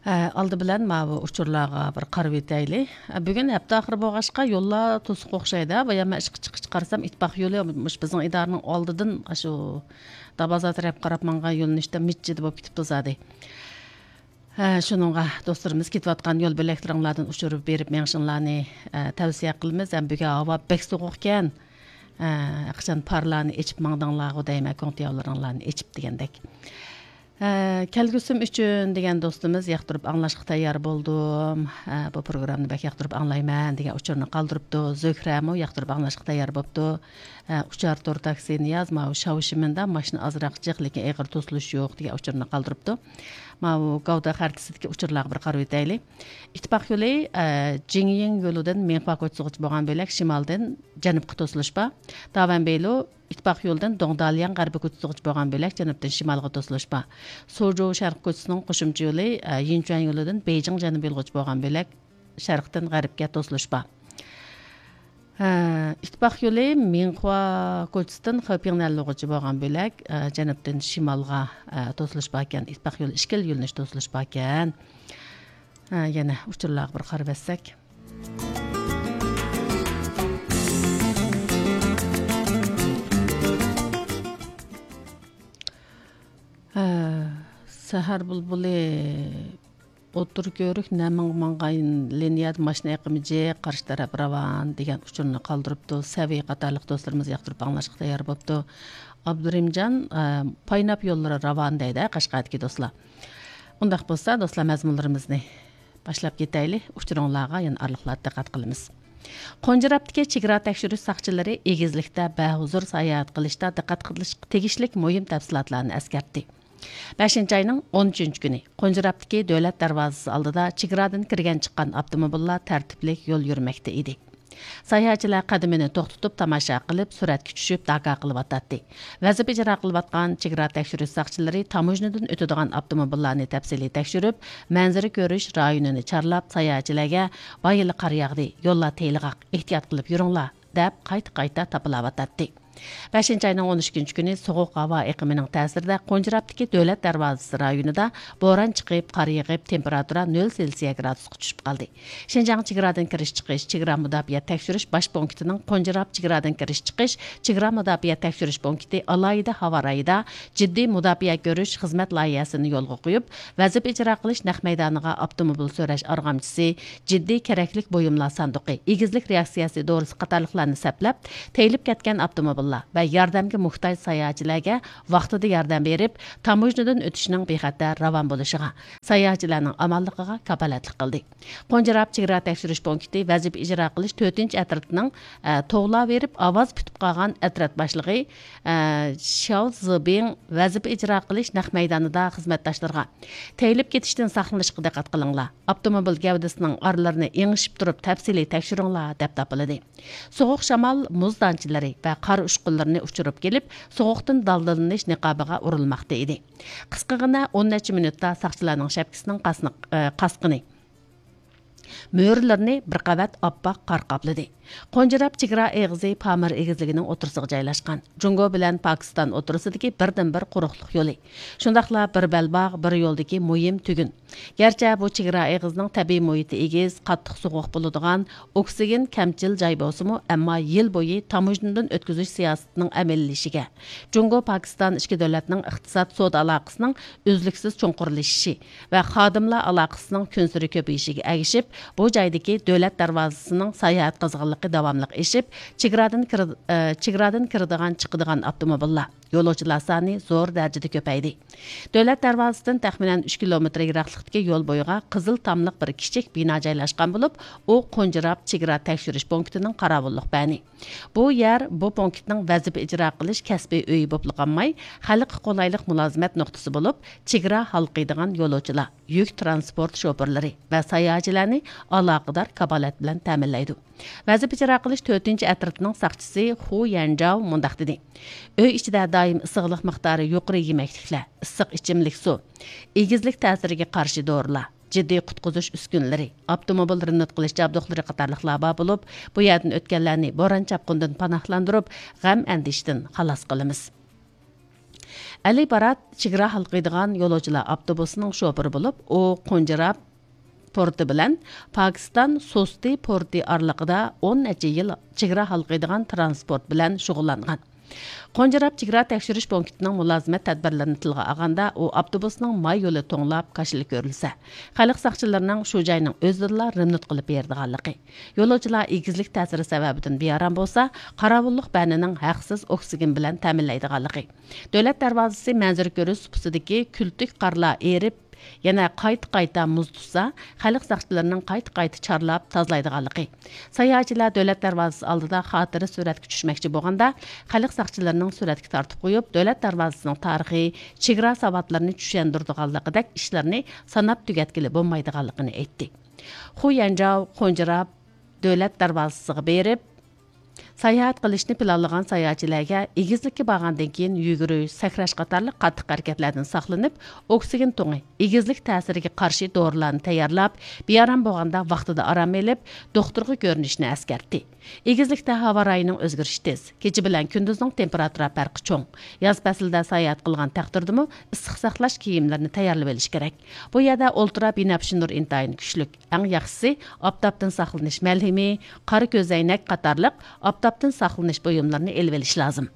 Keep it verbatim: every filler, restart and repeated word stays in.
ھە، ئالدى بىلەن ماۋۇ ئۇچۇرلارغا بىر قارىۋېتەيلى. ھە، بۈگۈن ھەپتە ئاخىرى بولغاچقا، يوللار توسۇق ئوخشايدۇ. بايام مەن ئىشقا چىققىچە قارىسام، ئىتتىپاق يولى مۇشۇ بىزنىڭ ئىدارىنىڭ ئالدىدىن ئاشۇ دابازار تەرەپ قاراپ ماڭغان يۆنىلىشتە مىججىدە بولۇپ كېتىپتۇ زادى. ھە، شۇنىڭغا دوستلىرىمىز كېتىۋاتقان يول بۆلەكلىرىڭلاردىن ئۇچۇر بېرىپ مېڭىشىڭلارنى، ھە، تەۋسىيە قىلىمىز. ھەم بۈگۈن ھاۋا بەك سوغۇقكەن. ھە، قاچان پارلارنى ئېچىپ ماڭدىڭلارغۇ دەيمەن، كۆڭتىياۋلىرىڭلارنى ئېچىپ دېگەندەك. ھە، كەلگۈسىم ئۈچۈن دېگەن دوستىمىز ياقتۇرۇپ ئاڭلاشقا تەييار بولدۇم. ھە، بۇ پروگراممىنى بەك ياقتۇرۇپ ئاڭلايمەن دېگەن ئۇچۇرنى قالدۇرۇپتۇ. زۆھرەمۇ ياقتۇرۇپ ئاڭلاشقا تەييار بوپتۇ. ھە، ئۇچار تور تاكسى نىياز ماۋۇ شاۋشىمىندا ماشىنا ئازراق جىق، لېكىن ئېغىر توسۇلۇش يوق دېگەن ئۇچۇرنى قالدۇرۇپتۇ. ماۋۇ گاۋدا خەرىتىسىدىكى ئۇچۇرلارغا بىر قارىۋېتەيلى. ئىتتىپاق يولى، ئە، جىڭيىڭ يولىدىن مىڭخۇا كوچىسىغىچە بولغان بۆلەك شىمالدىن جەنۇبقا توسۇلۇش بار. داۋەنبېيلۇ ئىتتىپاق يولىدىن دوڭدالياڭ غەربىي كوچىسىغىچە بولغان بۆلەك جەنۇبتىن شىمالغا توسۇلۇش بار. سۇجۇ شەرقىي كوچىسىنىڭ قوشۇمچە يولى، ئە، يىنچۈەن يولىدىن بېيجىڭ جەنۇبىي يولىغىچە بولغان بۆلەك شەرقتىن غەربكە توسۇلۇش بار. ھە، ئىتتىپاق يولى مىڭخۇا كوچىسىدىن خېپىڭ نەنلۇغىچە بولغان بۆلەك، ئە، جەنۇبتىن شىمالغا، ئە، توسۇلۇش باركەن. ئىتتىپاق يولى ئىككىلا يۆنىلىش توسۇلۇش باركەن. ھە، يەنە ئۇچۇرلارغا بىر قارىۋەتسەك. ھە، سەھەر بۇلبۇلى ئوتتۇرا كۆۋرۈك نەمىڭ ماڭغان لىنىيەدە ماشىنا ئېقىمى جىق، قارشى تەرەپ راۋان دېگەن ئۇچۇرنى قالدۇرۇپتۇ. سەۋى قاتارلىق دوستلىرىمىز ياقتۇرۇپ ئاڭلاشقا تەييار بوپتۇ. ئابدۇرېھىمجان، ئە، پايناپ يوللىرى راۋان دەيدۇ، قەشقەردىكى دوستلار. ئۇنداق بولسا، دوستلار، مەزمۇنلىرىمىزنى باشلاپ كېتەيلى. ئۇچۇرۇڭلارغا يەنە ئارىلىقلاردا دىققەت قىلىمىز. قونجىراپتىكى چېگرا تەكشۈرۈش ساقچىلىرى ئېگىزلىكتە بەھۇزۇر ساياھەت قىلىشتا دىققەت قىلىشقا تېگىشلىك مۇھىم تەپسىلاتلارنى ئەسكەرتتى. بەشىنچى ئاينىڭ ئون ئۈچىنچى كۈنى قونجىراپتىكى دۆلەت دەرۋازىسى ئالدىدا چېگرادىن كىرگەن چىققان ئاپتوموبىللار تەرتىپلىك يول يۈرمەكتە ئىدى. ساياھەتچىلەر قەدىمىنى توختىتىپ تاماشا قىلىپ، سۈرەتكە چۈشۈپ، داكا قىلىۋاتاتتى. ۋەزىپە ئىجرا قىلىۋاتقان چېگرا تەكشۈرۈش ساقچىلىرى تاموژنىدىن ئۆتىدىغان ئاپتوموبىللارنى تەپسىلىي تەكشۈرۈپ، مەنزىرە كۆرۈش رايونىنى چارلاپ، ساياھەتچىلەرگە «بايىلى قار ياغدى، يوللار تېيىلغاق، ئېھتىيات قىلىپ يۈرۈڭلار» دەپ قايتا-قايتا تاپىلاۋاتاتتى. بەشىنچى ئاينىڭ ئون ئىككىنچى كۈنى سوغۇق ھاۋا ئېقىمىنىڭ تەسىرىدە قونجىراپتىكى دۆلەت دەرۋازىسى رايونىدا بوران چىقىپ، قار يېغىپ، تېمپېراتۇرا نۆل سېلسىيە گرادۇسقا چۈشۈپ قالدى. شىنجاڭ چېگرادىن كىرىش چىقىش، چېگرا مۇداپىئە تەكشۈرۈش باش پونكىتىنىڭ قونجىراپ چېگرادىن كىرىش چىقىش، چېگرا مۇداپىئە تەكشۈرۈش پونكىتى ئالاھىدە ھاۋا رايىدا جىددىي مۇداپىئە كۆرۈش خىزمەت لايىھەسىنى يولغا قويۇپ، ۋەزىپە ئىجرا قىلىش نەق مەيدانىغا ئاپتوموبىل سۆرەش ئارغامچىسى، جىددىي كېرەكلىك بۇيۇملار ساندۇقى، ئېگىزلىك رېئاكسىيەسى دورىسى قاتارلىقلارنى سەپلەپ، تېيىلىپ كەتكەن ئاپتوموبىللار ۋە ياردەمگە موھتاج ساياھەتچىلەرگە ۋاقتىدا ياردەم بېرىپ، تاموژنىدىن ئۆتۈشنىڭ بىخەتەر راۋان بولۇشىغا، ساياھەتچىلەرنىڭ ئامانلىقىغا كاپالەتلىك قىلدى. قونجىراپ چېگرا تەكشۈرۈش پونكىتى ۋەزىپە ئىجرا قىلىش تۆتىنچى ئەترىتىنىڭ، ئە، توۋلاۋېرىپ ئاۋاز پۈتۈپ قالغان ئەترەت باشلىقى، ئە، شياۋ زىبىڭ ۋەزىپە ئىجرا قىلىش نەق مەيدانىدا خىزمەتداشلىرىغا، «تېيىلىپ كېتىشتىن ساقلىنىشقا دىققەت قىلىڭلار، ئاپتوموبىل گەۋدىسىنىڭ ئارىلىرىنى ئېڭىشىپ تۇرۇپ تەپسىلىي تەكشۈرۈڭلار» دەپ تاپىلىدى. سوغۇق شامال مۇز دانچىلىرى ۋە قار ئۇچقۇنلىرىنى ئۇچۇرۇپ كېلىپ، سوغۇقتىن دالدىلىنىش نىقابىغا ئۇرۇلماقتا ئىدى. قىسقىغىنە ئون نەچچە مىنۇتتا ساقچىلارنىڭ شەپكىسىنىڭ قاسنىق-، ئە، قاسقىنى، مۈرىلىرىنى بىر قەۋەت ئاپئاق قار قاپلىدى. قونجىراپ چېگرا ئېغىزى پامىر ئېگىزلىكىنىڭ ئوتتۇرىسىغا جايلاشقان. جۇڭگو بىلەن پاكىستان ئوتتۇرىسىدىكى بىردىنبىر قۇرۇقلۇق يولى. شۇنداقلا بىر بەلباغ، بىر يولدىكى مۇھىم تۈگۈن. گەرچە بۇ چېگرا ئېغىزىنىڭ تەبىئىي مۇھىتى ئېگىز، قاتتىق سوغۇق بولىدىغان، ئوكسىگېن كەمچىل جاي بولسىمۇ، ئەمما يىل بويى تاموژنىدىن ئۆتكۈزۈش سىياسىتىنىڭ ئەمەلىيلىشىشىگە، جۇڭگو پاكىستان ئىككى دۆلەتنىڭ ئىقتىساد سودا ئالاقىسىنىڭ ئۈزلۈكسىز چوڭقۇرلىشىشى ۋە خادىملار ئالاقىسىنىڭ كۈنسېرى كۆپىيىشىگە ئەگىشىپ، بۇ جايدىكى دۆلەت دەرۋازىسىنىڭ ساياھەت قىزغىنلىقى داۋاملىق ئېشىپ، چېگرادىن كىر-، ئە، چېگرادىن كىرىدىغان، چىقىدىغان ئاپتوموبىللار، يولۇچىلار سانى زور دەرىجىدە كۆپەيدى. دۆلەت دەرۋازىسىدىن تەخمىنەن ئۈچ كىلومېتىر يىراقلىقتىكى يول بويىغا قىزىل تاملىق بىر كىچىك بىنا جايلاشقان بولۇپ، ئۇ قونجىراپ چېگرا تەكشۈرۈش پونكىتىنىڭ قاراۋۇللۇق بەنى. بۇ يەر بۇ پونكىتنىڭ ۋەزىپە ئىجرا قىلىش كەسپىي ئۆيى بولۇپلا قالماي، خەلققە قولايلىق مۇلازىمەت نۇقتىسى بولۇپ، چېگرا ھالقىيدىغان يولۇچىلار، يۈك تىرانسپورت شوپۇرلىرى ۋە ساياھەتچىلەرنى ئالاقىدار كاپالەت بىلەن تەمىنلەيدۇ. ۋەزىپە ئىجرا قىلىش تۆتىنچى ئەترىتىنىڭ ساقچىسى خۇ يەنجاۋ مۇنداق دېدى: ئۆي ئىچىدە دائىم ئىسسىقلىق مىقدارى يۇقىرى يېمەكلىكلەر، ئىسسىق ئىچىملىك سۇ، ئېگىزلىك تەسىرىگە قارشى دورىلار، جىددىي قۇتقۇزۇش ئۈسكۈنىلىرى، ئاپتوموبىل رېمونت قىلىش جابدۇقلىرى قاتارلىقلار بار بولۇپ، بۇ يەردىن ئۆتكەنلەرنى بوران-چاپقۇندىن پاناھلاندۇرۇپ، غەم-ئەندىشىدىن خالاس قىلىمىز. ئەلى بارات چېگرا ھالقىيدىغان يولۇچىلار ئاپتوبۇسىنىڭ شوپۇرى بولۇپ، ئۇ قونجىراب پورتى بىلەن پاكىستان سوستى پورتى ئارىلىقىدا ئون نەچچە يىل چېگرا ھالقىيدىغان تىرانسپورت بىلەن شۇغۇللانغان. قونجىراب چېگرا تەكشۈرۈش پونكىتىنىڭ مۇلازىمەت تەدبىرلىرىنى تىلغا ئالغاندا، ئۇ ئاپتوبۇسنىڭ ماي يولى توڭلاپ كاشىلا كۆرۈلسە، خەلق ساقچىلىرىنىڭ شۇ جاينىڭ ئۆزىدىلا رېمونت قىلىپ بېرىدىغانلىقى، يولۇچىلار ئېگىزلىك تەسىرى سەۋەبىدىن بىئارام بولسا، قاراۋۇللۇق بەنىنىڭ ھەقسىز ئوكسىگېن بىلەن تەمىنلەيدىغانلىقى، دۆلەت دەرۋازىسى مەنزىرە كۆرۈش سۇپىسىدىكى كۈلتۈك قارلار ئېرىپ، يەنە قايتا-قايتا مۇز تۇتسا، خەلق ساقچىلىرىنىڭ قايتا-قايتا چارلاپ تازىلايدىغانلىقى، ساياھەتچىلەر دۆلەت دەرۋازىسى ئالدىدا خاتىرە سۈرەتكە چۈشمەكچى بولغاندا، خەلق ساقچىلىرىنىڭ سۈرەتكە تارتىپ قويۇپ، دۆلەت دەرۋازىسىنىڭ تارىخى، چېگرا ساۋاتلىرىنى چۈشەندۈرىدىغانلىقىدەك ئىشلارنى ساناپ تۈگەتكىلى بولمايدىغانلىقىنى ئېيتتى. خۇ يەنجاۋ قونجىراپ دۆلەت دەرۋازىسىغا بېرىپ، ساياھەت قىلىشنى پىلانلىغان ساياھەتچىلەرگە ئېگىزلىككە بارغاندىن كېيىن يۈگۈرۈش، سەكرەش قاتارلىق قاتتىق ھەرىكەتلەردىن ساقلىنىپ، ئوكسىگېن تۇڭى، ئېگىزلىك تەسىرىگە قارشى دورىلارنى تەييارلاپ، بىئارام بولغاندا ۋاقتىدا ئارام ئېلىپ، دوختۇرغا كۆرۈنۈشنى ئەسكەرتتى. ئېگىزلىكتە ھاۋا رايىنىڭ ئۆزگىرىشى تېز، كېچە بىلەن كۈندۈزنىڭ تېمپېراتۇرا پەرقى چوڭ. ياز پەسلىدە ساياھەت قىلغان تەقدىردىمۇ ئىسسىق ساقلاش كىيىملىرىنى تەييارلىۋېلىش كېرەك. بۇ يەردە ئۇلترا بىنەپشە نۇر ئىنتايىن كۈچلۈك. ئەڭ ياخشىسى، ئاپتاپتىن ساقلىنىش مەلھىمى، قارا كۆزەينەك قاتارلىق ئاپتاپتىن ساقلىنىش بۇيۇملىرىنى ئېلىۋېلىش لازىم.